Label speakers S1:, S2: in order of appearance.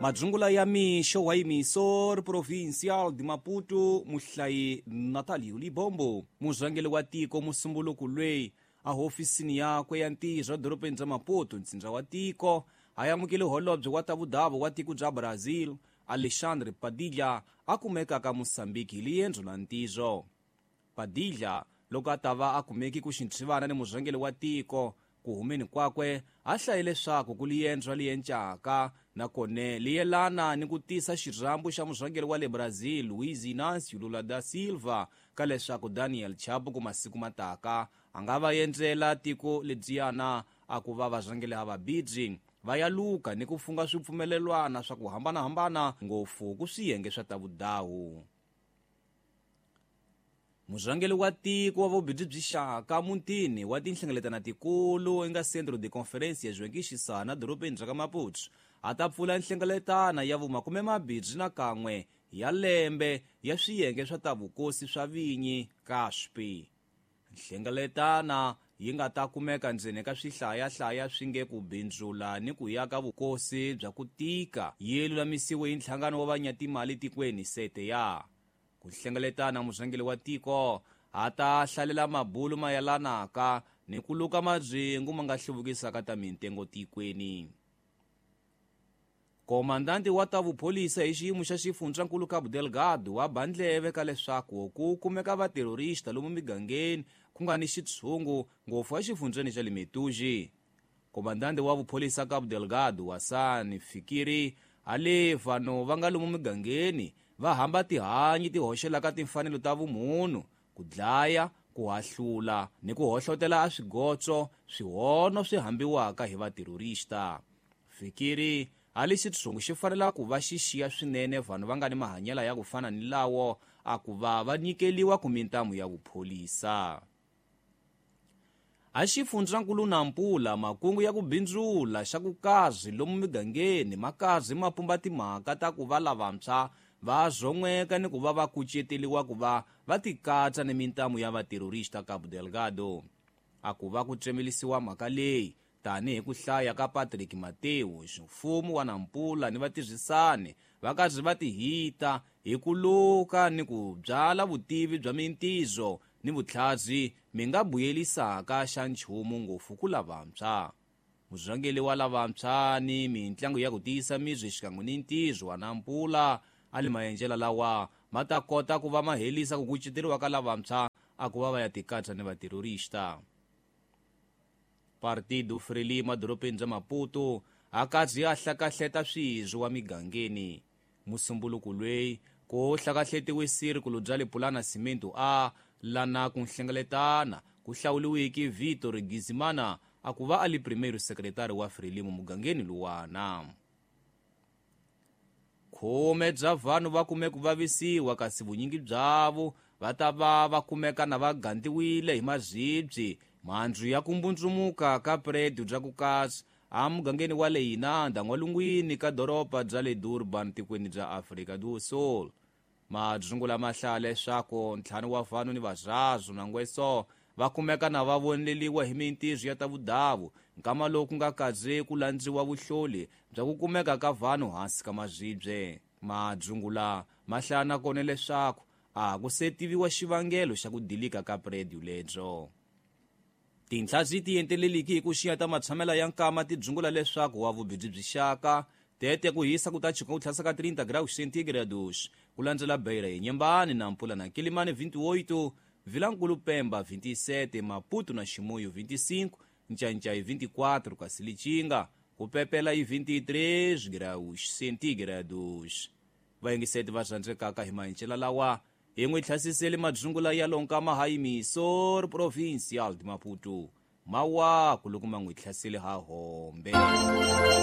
S1: Madzungula ya mixo wa Emissor Provincial de Maputo muhlayi Natalio Libombo murhangeri wa tiko musumbuluku lweyi a hofisini yakwe ya ntirho edorobeni bya Maputo ntsindza wa tiko a amukele holobye wa ta vudavo wa tiko bya Brazil Alexandre Padilha a kumekaka Mozambique hi liendzo la ntirho. Padilha loko a ta va a kumeki ku xinthivana ni murhangeri wa tiko ku humeni kwakwe a hlaye leswaku ku liendzo liencaka nakone liyelana ni ku tisa xirhambo xa murhangeri wa le Brazil Luiz Inácio Lula da Silva ka leswaku Daniel Chapo ku masiku mataka a nga va endzela tiko lebyiyana a ku va varhangeri ha vabidzi va ya luka ni ku funga swipfumelelwana swa ku hambanahambana ngopfu ku swiyenge swa ta vudawu. Murhangeri wa tiko wa vubindzu byi xaka mutini wa tinhlengeletano tikulu eka Centro de Conferência Joaquim Chissano dorobeni ra ka Maputo a ta pfula nhlengeletano ya vumakume mabirhi na kan'we ya lembe ya swiyenge swa ta vukosi swa vinyi CASP. Nhlengeletana yi nga ta kumeka ndzeni ka swihlayahlaya swi nge ku bindzula ni ku ya ka vukosi bya ku tika yi lulamisiwe hi nhlangano wa vanyatimali tikweni CTA. Ku hlengeletana murhangeri wa tiko a ta hlalela mabulu mayelanaka ni ku luka mabyengu ma nga hluvukisaka ta mintengo tikweni. Komandanti wa ta vupholisa hi xiyimo xa xifundzankulu Cabo Delgado wa ba ndleve ka leswaku ku kumeka vaterorista lomu migangeni ku nga ni xitshungu ngopfu exifundzeni xa le Metuji. Komandanti wa vupholisa Cabo Delgado Hassan Fikiri a le vanhu va nga lomu migangeni va hamba tihanyi ti hoxelaka timfanelo ta vumunhu ku dlaya ku hahlula ni ku hohlotela a swigotso swihono swi hambiwaka hi vaterorista. Fikiri a le xitshungu xi fanela ku va xi xiya swinene vanhu va nga ni mahanyelo ya ku fana ni lawo a ku va va nyikeliwa ku mintamu ya vupholisa. A xifundzankulu Nampula makungu ya ku bindzula xa ku kazi lomu migangeni makazi ma pumba timhaka ta ku va lavantshwa va zon'weka ni ku va va kuceteliwa ku va va tikatsa ni mintamu ya vaterorista Cabo Delgado. A ku va ku tsemelisiwa mhaka leyi tanihi ku hlaya ka Patrick Mateus mfumo wa Nampula ni vatirhisani va karhi va tihita hi ku luka ni ku byala vutivi bya mintizo ni vutlhari mi nga buyelisaka xa nchumu ngopfu ku lavantshwa. Murhangeri wa lavantshwa ni mintlangu ya ku tiyisa miri xikan'we ni ntirho wa Nampula a le maendlelo lawa ma ta kota ku va ma helisa ku kuceteriwa ka lavantshwa a ku va va ya tikatsa ni vaterorista. Partido Frelimo edorobeni bya Maputo a karhi a hlakahleta swirho wa migangeni. Musumbuluku lweyi ku hlakahletiwe sirikulu bya le Pulana Cimento a lana ku nhlengeletana ku hlawuliwiki Vitor Gizimana a ku va a li primeiro secretary wa Frelimo mugangeni luwana. Khume bya vanhu va kume ku vavisiwa kasi vunyingi byavo va ta va va kumeka na va gandiwile hi mazibyi mhandzu ya ku mbundzumuka ka predio bya ku kasi a mugangeni wa le Inanda n'walungwini ka doroba bya le Durban tikweni bya Afrika do Sul. Madzungula ma hlaya leswaku ntlhanu wa vanhu ni vazazwu na ngweso va kumeka na va voneleliwa hi mintirho ya ta vudavu nkama lowu ku nga kaze ku landziwa vuhloli bya ku kumeka ka vanhu hansi ka mazibye. Madzungula ma hlaya nakona leswaku a ku se tiviwa xivangelo xa ku dilika ka predio lebyo. Tinhla ti enteleliki hi ku xiya ta matshamela ya nkama ti dzungula leswaku wa vubindzu byi xaka tete ku hisa ku ta chika ku tlhasa ka 30 graus centígrados ku landzela Beira Inhambane Nampula na Quelimane 28 Vilankulu Pemba 27 Maputo na Chimoio 25 Ncancai 24 kasi Lichinga ku pepela hi 23 graus centígrados. Vayingiseti va rhandzekaka hi mahencela lawa hi n'wi tlhasisele madzungula ya lonkama ha Emissor Provincial de Maputo mawaku loko ma n'wi tlhasele ha hombe.